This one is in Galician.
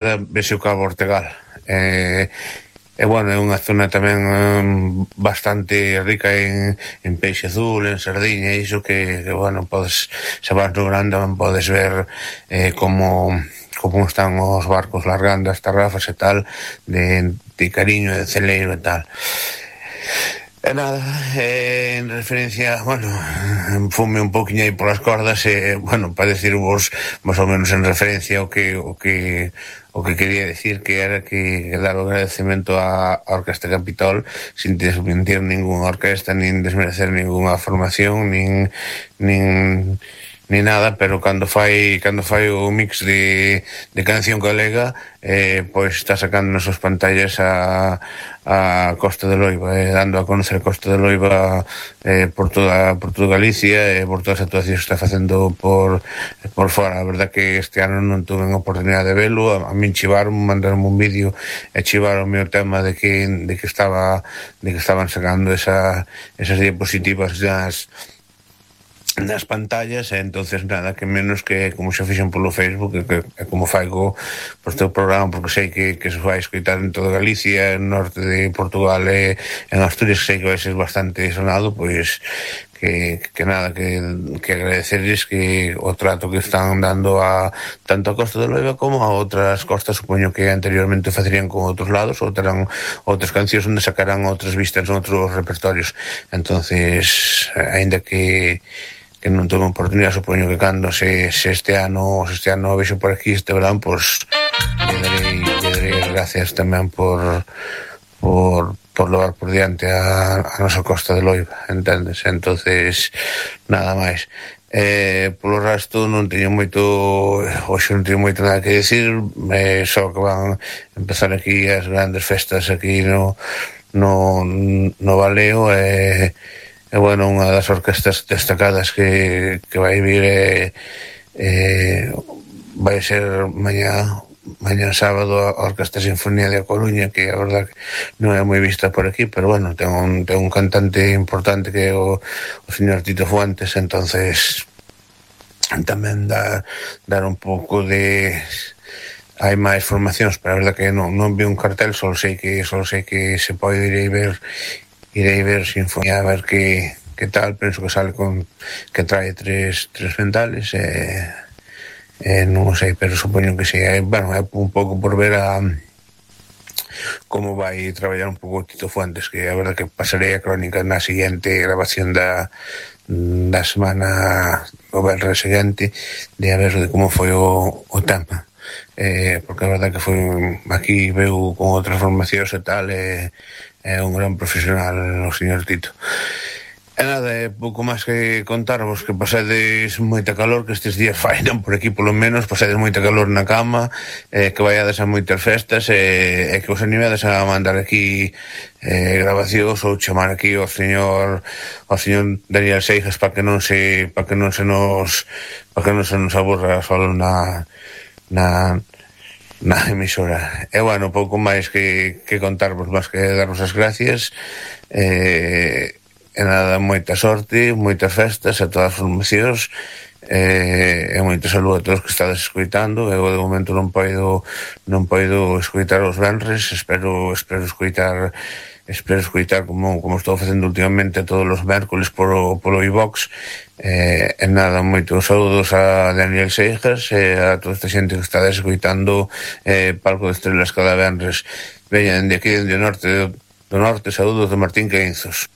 vese o Cabo Ortegal. E bueno, é unha zona tamén bastante rica en peixe azul, en sardiña, e iso que bueno, podes, se vas no Gran tamén podes ver como están os barcos largando as tarrafas e tal, de Cariño, de Celeiro e tal. E nada, en referencia, bueno, fume un poquinho aí polas cordas e, bueno, para decirvos máis ou menos en referencia o que quería decir, que era que dar o agradecemento á Orquesta Capitol sin desmentir ninguna orquesta, nin desmerecer ninguna formación, nin nada, pero cando fai o mix de canción galega, pois está sacando nas súas pantallas a Costa de Loiba, dando a conocer a Costa de Loiba por toda Galicia e por todas as actuacións que está facendo por fora. A verdad que este ano non tuve a oportunidade de velo, a min chivaron, mandaron un vídeo e chivaron o tema de que estaban sacando esas diapositivas nas pantallas, e entonces nada, que menos que como xa fixen polo Facebook, e como faigo por teu programa, porque sei que se vai escoitar en toda Galicia, en norte de Portugal e en Asturias, sei que vai ser bastante sonado, pois que nada, que agradecerles que o trato que están dando tanto a Costa de Loiba como a outras costas. Supoño que anteriormente facerían con outros lados, ou terán outras cancións onde sacarán outras vistas en outros repertorios. Entonces, aínda que non tengo oportunidade, supoño que cando se este ano vexo por aquí este verán, pois lle darei as gracias tamén por levar por diante a nosa Costa de Loiba, entendes? Entonces, nada máis. Polo resto non teño moito nada que decir, só que van empezar aquí as grandes festas aquí no Valeo, e bueno, unha das orquestas destacadas que vai vir vai ser mañá sábado a Orquesta Sinfonía de A Coruña, que a verdad non é moi vista por aquí, pero bueno, ten un cantante importante que é o señor Tito Fuentes, entonces tamén dar un pouco de... hai máis formacións, pero a verdad que non vi un cartel, só sei que se pode irei ver Sinfonía, a ver que tal. Penso que sale que trae tres ventales, non sei, pero supoño que sí. Bueno, é un pouco por ver como vai traballar un pouco Tito Fuentes, que a verdad que pasarei a crónica na seguinte grabación da semana, o venres seguinte, de a ver de como foi o tema, porque a verdad que foi aquí, veu con outras formacións e tal, é un gran profesional o señor Tito. E nada, pouco máis que contarvos, que pasedes moita calor, que estes días fainan por aquí polo menos, pasedes moita calor na cama, que vaiades a moitas festas, e que os animedes a mandar aquí grabacións, ou chamar aquí ao señor Daniel Seijas para que non se nos aburra solo na emisora. E bueno, pouco máis que contarvos, máis que darvos as gracias, e nada, moita sorte, moitas festas a todas as formacións, e moito saludo a todos que estades escoitando. Eu de momento non poido escoitar os venres, espero escoitar como estou facendo últimamente todos os mércoles polo iVox. E nada, moitos saludos a Daniel Seijas e a toda esta xente que estades escoitando Palco de Estrelas cada venres. Veñan de aquí, do norte, saludos de Martín Queinzos.